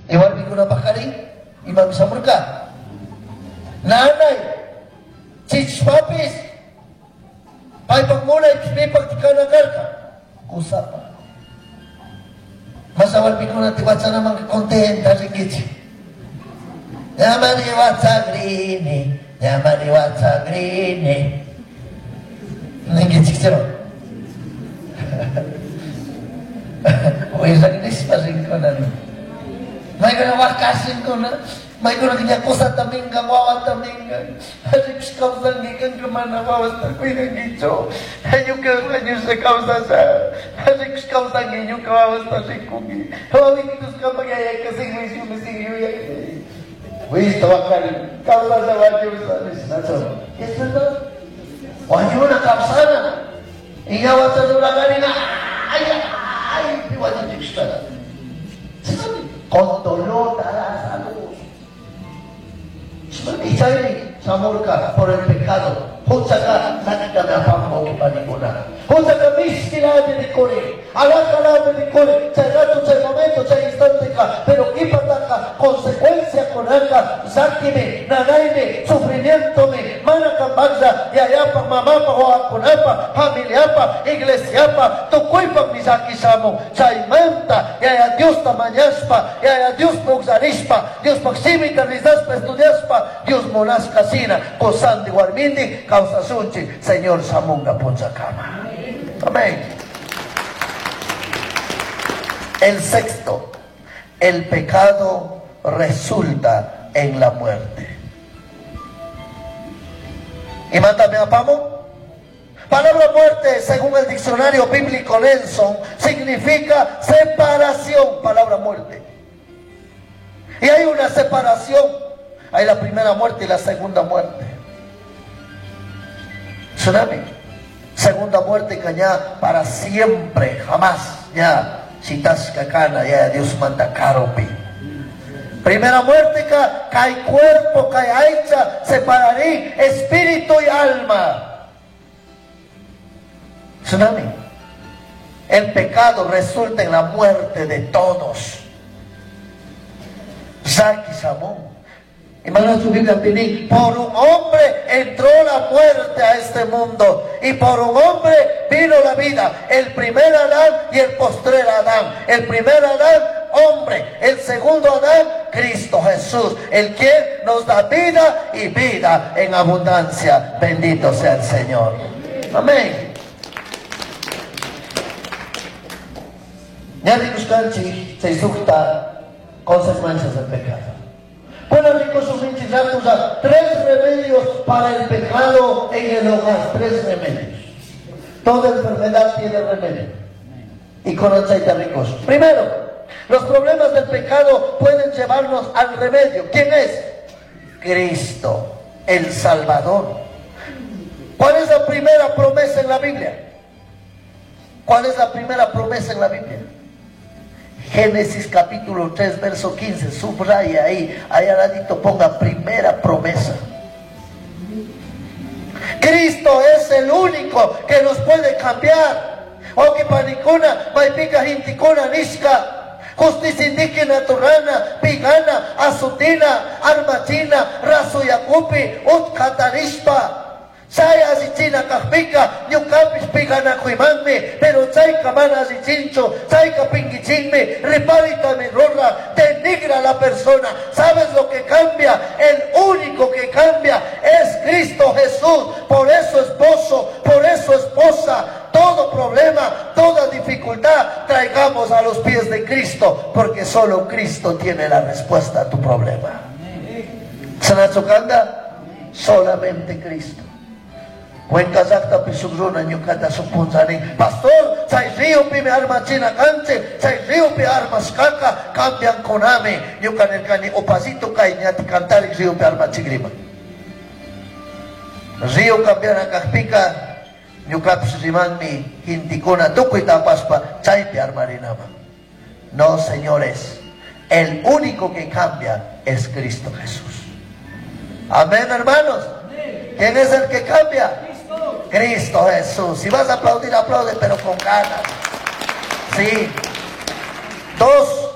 Y warmikunapaqari imami shamurka. Nanay chichishpapis paypak munaypish pipakti kana karka kusapa. Masa warmikunata wachanamanka contenta rinkichik. Ñamari wachagrini, ñamari wachagrini. Ninkichik chiro. Willak nishpa rinkuna nin. Maykuna wakashinkuna, maykuna ña kusata minkan, wawata minkan. Rikush kawsanki, kanka mana wawasta cuidankichu. Ñuka wañusha kawsasha. Rikush kawsanki, ñuka wawasta rikunki. Wawikitus kapak yayaka sin juicio, sin yuyay. Wisto wakari, kawsasha wañusha nishnachu. ¿Es verdad? Wañuna kawsana. Iña wachadurakarina, ay, ay, pi wañuchikushkana. Con dolor darás a luz. Y chaymi shamurka por el pecado. Huchaka llakitami apamun wawqipanikuna. Huchaka mishkilami rikurin, alajalami rikurin, chay rato, chay momento, chay instanteka, pero qhipataka consecuenciakunaka llakimi, nanaymi, sufrimientomi, mana kampaqlla yayapaq, mamapaq, wawakunapaq, familiapaq, iglesiapaq, tukuypaqmi llaki shamun. Chaymanta Yaya Diosta mañashpa, Yaya Diospi ukllarishpa, Diospaq simita rezashpa, estudiashpa, Dios munashka shina, qusandi warmindi kawsashunchik, Señor shamunga punchakama. Amén. El sexto, el pecado resulta en la muerte. ¿Imatami apamun? Palabra muerte, según el diccionario bíblico Nelson, significa separación. Palabra muerte. Y hay una separación. Hay la primera muerte y la segunda muerte. Tsunami. Segunda muerte que ya para siempre, jamás, ya, shitashka kana, ya Dios manda karupi. Primera muerte que cae cuerpo, cae aicha, separarí espíritu y alma. Tsunami. El pecado resulta en la muerte de todos. Llaki shamun. Hermano, su Biblia pide, por un hombre entró la muerte a este mundo y por un hombre vino la vida. El primer Adán y el postrer Adán. El primer Adán, hombre. El segundo Adán, Cristo Jesús, el quien nos da vida y vida en abundancia. Bendito sea el Señor. Amén. Ña rikushkanchik chay sukta consecuencias del pecado. Bueno, rikushunchik rakulla, tres remedios para el pecado en el hogar, tres remedios. Toda enfermedad tiene remedio. Y con chayta rikushun. Primero, los problemas del pecado pueden llevarnos al remedio. ¿Quién es? Cristo, el Salvador. ¿Cuál es la primera promesa en la Biblia? ¿Cuál es la primera promesa en la Biblia? Génesis capítulo 3, verso 15, subraya ahí, ahí al ladito ponga primera promesa. Cristo es el único que nos puede cambiar. Wawqipanikuna, maypika gentekuna nishka, justicia indígena turana, pigana, azutina, armachina, rasuyakupi, utkatarishpa. Chay allichina kajpika, ñukapish piganakuymanmi, pero chayka mana allichinchu, chayka pinkichinmi, riparitami rura, denigra a la persona. ¿Sabes lo que cambia? El único que cambia es Cristo Jesús. Por eso esposo, por eso esposa, todo problema, toda dificultad, traigamos a los pies de Cristo, porque solo Cristo tiene la respuesta a tu problema. Chashnachu kanga? Solamente Cristo. Cuenca llajtapi shuk runa ñucata shuk punlla nin, Pastor, chay ríopimi armachina canchik, chay ríopi armashcaca cambiancunami. Ñuca nircani, upallito cay ñati cantarik ríopi armachigrima. Río cambiana cajpica, ñucapish rimanmi gentecuna tucui tapashpa chaypi armarinaman. No, señores, el único que cambia es Cristo Jesús. Amén, hermanos. ¿Quién es el que cambia? Cristo. Cristo Jesús. Si vas a aplaudir, aplaude, pero con ganas. Sí. 2.